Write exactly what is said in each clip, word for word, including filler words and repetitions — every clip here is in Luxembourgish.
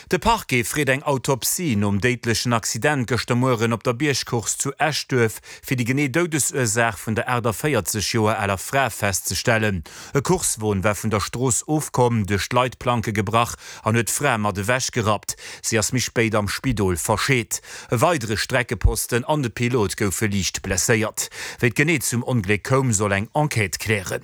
De Parquet freet eng Autopsie nom déidlechen Accident gëschter Mueren op der Biergcourse zu Eschduerf, fir déi genee Doudesursaach vun der aachtavéierzeg Joer aler Fra festzestellen. E Coursewon war vun der Strooss ofkomm, duerch d'Leitplanke gebrach an huet d'Fra mat ewech gerappt. Si ass méi spéit am Spidol verscheet. E weidere Streckeposten an de Pilot goufe liicht blesséiert. Wéi et genee zum Ongléck koum, soll eng Enquête klären.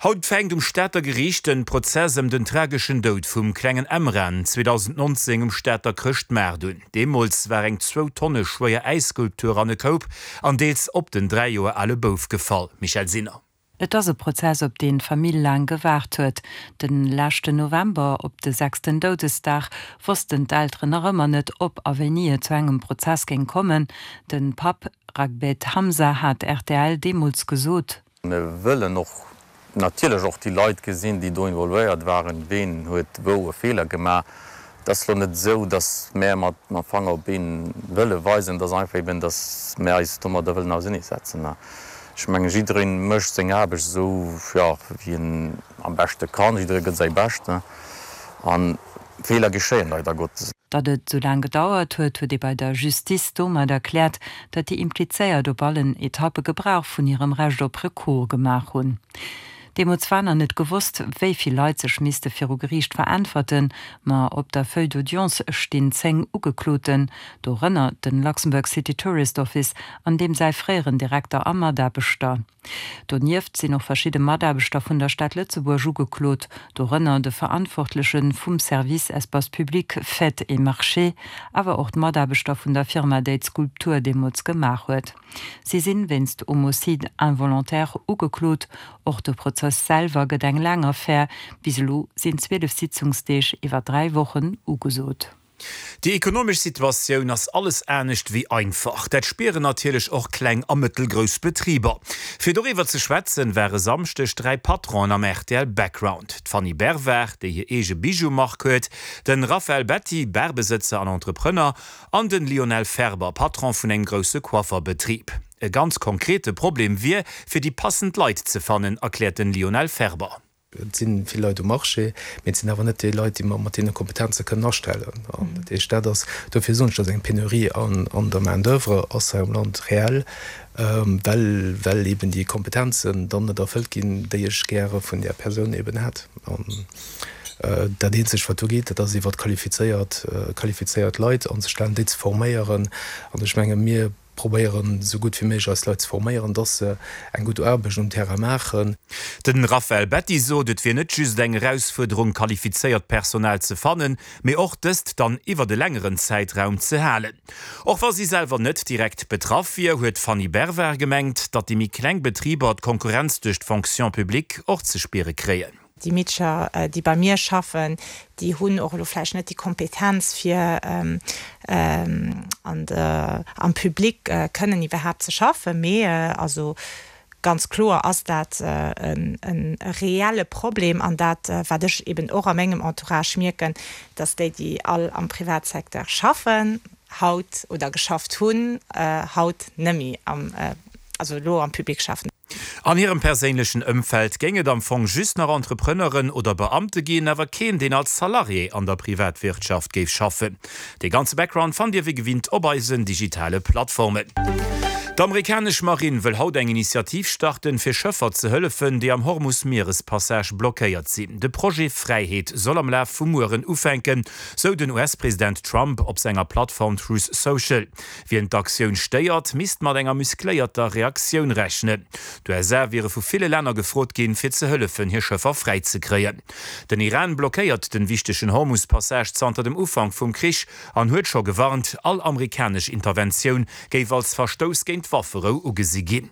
Haut fänkt um Stater Geriicht de Prozess ëm den trageschen Doud vum klengen Emran zweedausendnonzéng um Stater Chrëschtmaart un. Deemools war eng zwou Tonne schwéier Äisskulptur an e Koup an deels op den dräi Joer ale Bouf gefall. Michèle Sinner. Et ass e Prozess, op deen d'Famill laang gewaart huet. De leschten November, op de sechsten Doudesdag, wossten d'Elteren nach ëmmer net, ob a wéini et zu engem Prozess géing kommen. De Papp Ragbet Hamza hat rtl deemools gesot. Mir wëllen och natierlech och déi Leit gesinn, déi do involvéiert waren, ween huet wou e Feeler gemaach. Et ass elo net esou, datt mär mat mam Fanger op een wëlle weisen, et ass einfach eben, datt mär eis domadder wëllen auseneesetzen. Ech mengen, jidderee mécht seng Aarbecht esou, jo, wéi en am beschte kann, jidderee gëtt säi Bescht a Feeler geschéien, leider Gottes. Datt et esou laang gedauert huet, huet ee bei der Justice domat erkläert, datt déi Implizéiert op allen Etappe Gebrauch vun hirem Recht op Recours gemaach hunn. Deemools war nach net gewosst, wéi vill Leit sech misste viru Geriicht veräntwerten, ma op der Feuille d'audience stinn zéng Ugekloten, dorënner de Luxembourg City Tourist Office an deem säi fréieren Direkter a Mataarbechter. Donieft sinn och verschidde Mataarbechter vun der Stad Lëtzebuerg ugeklot, dorënner de Verantwortleche vum Service Espaces publics, Fêtes et Marchés, awer och d'Mataarbechter vun der Firma, déi d'Skulptur deemools gemaach huet. Si sinn wéinst Homicide involontaire ugeklot. Och de Prozess selwer gëtt eng laang Affär, bis elo sinn zwielef Sitzungsdeeg iwwer dräi Wochen ugesot. Déi ekonomesch Situatioun ass alles anescht wéi einfach. Dat spieren natierlech och kleng a mëttelgrouss Betriber. Fir doriwwer ze schwätzen, ware Samschdeg dräi Patronen am R T L Background, D'Fanny Bervard, déi hir eege Bijou-Mark huet, de Raphaël Betti, Barbesëtzer an Entrepreneur, an de Lionel Ferber, Patron vun engem grousse Coifferbetrib. E ganz konkrete Problem wier, fir déi passend Leit ze fannen, erkläert de Lionel Ferber. Et si vill Leit um Marché, mee et sinn awer net déi Leit, déi mer mat deene Kompetenze kënnen astellen. An dat heescht, dat ass, dofir soen ech, dass eng Penurie an, an der Main-d'oeuvre ass hei am Land reell, well, well eben déi Kompetenzen dann net erfëllt ginn, déi ech gäre vun där Persoun eben hätt. An dat Eenzegt, wat do geet, dat ass iwwer qualifizéiert, qualifizéiert Leit anzestellen, déi ze forméieren. An ech menge mir probéieren, esou gutt wéi méiglech eis Leit ze forméieren, dass se eng gutt Aarbecht um Terrain maachen. De Raphaël Betti sot, et wier net just eng Erausfuerderung, qualifizéiert Personal ze fannen, mee och dëst dann iwwert e längeren Zäitraum ze halen. Och wa si selwer net direkt betraff wier, huet d'Fanny Bervard gemengt, datt déi méi kleng Betriber d'Konkurrenz duerch d'Fonction publique och ze spiere kréien. Déi Meedercher, déi bei mir schaffen, déi hunn och elo vläicht net déi Kompetenz fir an de, am Public kënnen iwwerhaapt ze schaffen, mee also ganz kloer ass dat en, en reelle Problem an dat, wat ech eben och a mengem Entourage mierken, dass déi, déi all am Privatsecteur schaffen, haut oder geschafft hunn, haut nëmme am, also elo am Public schaffen. An hirem perséinlechen Ëmfeld géing et am Fong just nach Entrepreneuren oder Beamte ginn, awer keen, deen als Salarié an der Privatwirtschaft géif schaffen. Dee ganze Background fannt Dir wéi gewinnt op eisen digitale Plattformen. D'amerikanesch Marinn wëll haut eng Initiativ starten, fir Schëffer ze hëllefen, déi am Hormus-Mierespassage blockéiert sinn. De Projet Fräiheet soll am Laf vum Mueren ufänken, sou den U S-President Trump op senger Plattform Truth Social. Wien d'Aktioun stéiert, misst mat enger muscléierter Reaktioun rechnen. D'U S A wiere vu ville Länner gefrot ginn, fir ze hëllefen, hir Schëffer fräi ze kréien. Den Iran blockéiert den wichtegen Hormus-Passage zanter dem Ufank vum Krich an huet scho gewarnt, all amerikanesch Interventioun géif als Verstouss géint d'Wafferou ugesi ginn.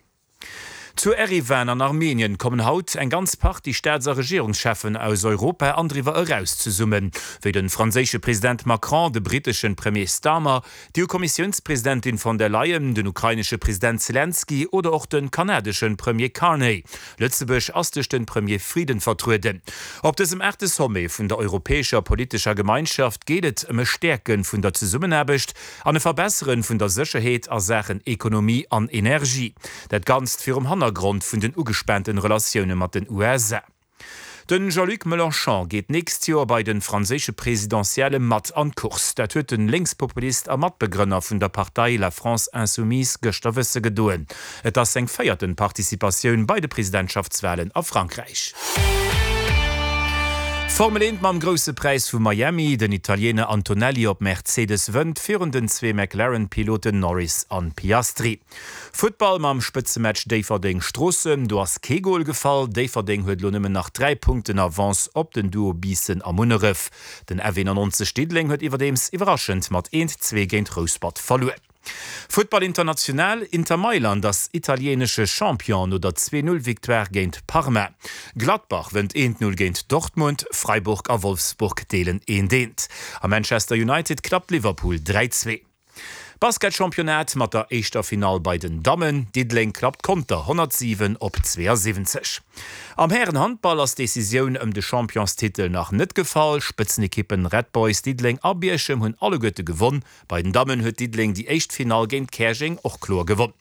Zu Eriwan an Armenien kommen haut eng ganz Partie Staats- a Regierungscheffen aus Europa an driwwer eraus zesummen, wéi de franséische President Macron, de britesche Premier Starmer, d'E U-Kommissiounspresidentin von der Leyen, den ukrainesche President Zelensky oder och de kanadesche Premier Carney. Lëtzebuerg ass duerch de Premier Frieden vertrueden. Op dësem aachte Sommet vun der europäescher politescher Gemeinschaft geet et ëm e Stäerke vun der Zesummenaarbecht an e Verbessere vun der Sécherheet a Saachen Ekonomie an Energie. Dat Ganzt virum Hannergrond vun den ugespaanten Relatioune mat den U S A. Den Jean-Luc Mélenchon geet d'nächst Joer bei de franséische Presidentielle mat an d'Course. Dat huet den Lénkspopulist a Matbegrënner vun der Partei La France Insoumise gëschter wësse gedoen. Et ass seng véierten Participatioun bei de Presidentschaftswalen a Frankräich. Formel eent mam Grousse Präis vu Miami, Den Italiener Antonelli op Mercedes wënnt virun den zwee McLaren-Piloten Norris an Piastri. Futtball mam Spëtzematch Déifferdeng-Stroossen, do ass kee Gol gefall. Déifferdeng huet elo nëmmen nach dräi Punkten Avance op den Duo Biissen a Munneref. Den F eenannonzeg Diddeleng huet iwwerdeems iwwerraschend mat eent, zwee géint Rouspert verluer. Futtball international, Inter Mailand ass italienesche Champion no der zwee Null Victoire géint Parma. Gladbach wënnt eent Null géint Dortmund, Freiburg a Wolfsburg deelen eent eent. A Manchester United klappt Liverpool dräi zwee. Basketchampionnat mat der éischter Finall bei den Dammen, Diddeleng klappt Conter honnertsiwen op zweeasiwwenzeg. Am Härenhandball ass d'Decisioun ëm de Championstitel nach net gefall. Spëtzenekippen Red Boys Diddeleng a Bierchem hunn alleguerte gewonn. Bei den Dammen huet Diddeleng déi éischt Finall géint Käerjeng och kloer gewonn.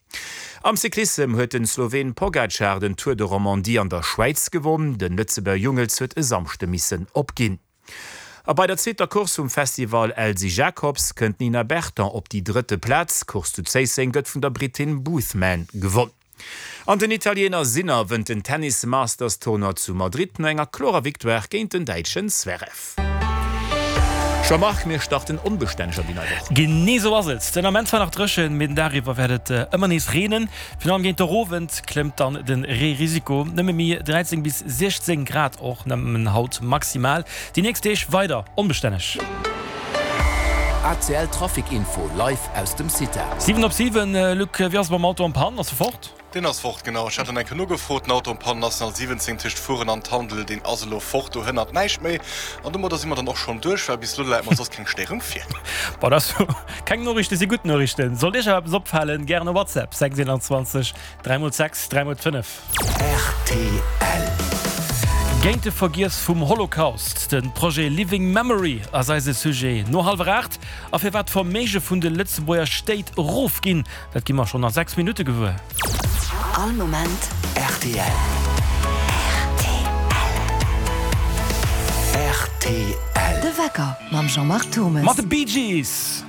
Am Cyclissem huet den Sloween Pogacar den Tour de Romandie an der Schwäiz gewonn. Den Lëtzebuerger Jungels huet e Samschde missen opginn. A bei der zweeter Course vum Festival Elsy Jacobs kënnt d'Nina Berton op déi drëtte Plaz. D'Course zu Zéisseng gëtt vun der Brittin Boothman gewonn. An den Italiener Sinner wënnt den Tennis Masters Tournoi zu Madrid no enger klorer Victoire géint den Däitschen Zverev. Jean-Marc, mir starten onbestänneg an déi nei Woch. Genee sou ass et. Den Ament zwar nach dréchen, mee den Dag iwwer wäert et ëmmer nees reenen. Virun allem géint der Owend klëmmt dann de Reerisiko. Nëmme méi dräizéng bis siechzéng Grad och nëmmen haut maximal. Déi nächst Deeg weider onbestänneg. A C L Trafic Info live aus dem CITA. Siwen op siwen, Luc, wéi ass et mam Auto en panne? Ass e fort? Deen ass fort, genau. Ech hat en eng Kéier nogefrot. Den Auto en panne, National siwwenzéng tëscht Furen an Tandel, deen ass elo fort. Do hënnert näischt méi. An domadder si mer dann och schonn duerch, well bis elo läit mer soss keng Stéierung vir. Bon, dat ass jo keng Noriichten, si gutt Noriichten. Sollt Iech awer eppes opfalen, gären e WhatsApp, sechs eenanzwanzeg dräi mol sechs dräi mol fënnef. Rtl. Géint de Vergiess vum Holocaust, de Projet Living Memory ass eise Sujet no hallwer aacht. A firwat d'Verméige vun de Lëtzebuerger Stéit erofginn, dat gi mer schonn a sechs Minutte gewuer. All Moment rtl. Rtl. De Wecker mam Jean-Marc Thommes. Mat de Bee Gees!